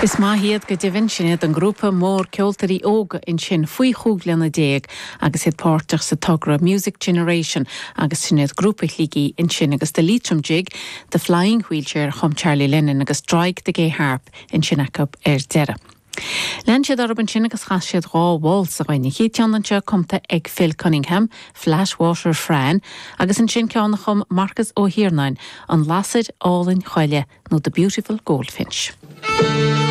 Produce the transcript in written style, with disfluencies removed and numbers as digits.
Is maith iad go deimhin, sin iad an grúpa mór ceoltóirí óga ansin faoi chúig bhliana déag agus iad páirteach sa togra Music Generation agus sin iad grúpa Shligigh ansin agus The Leitrim Jig, The Flying Wheelchair a chum Charlie Lennon agus Draig the Gay Harp ansin acu ar deireadh. Lean siad orthu ansin agus chas siad dhá válsa dhuinn, an chéad cheann anseo cumtha ag Phil Cunningham, Flat Water Fran, agus ansin ceann a chum Marcus Ó hIarnáin, An Lasair Álainn Choille nó The Beautiful Goldfinch.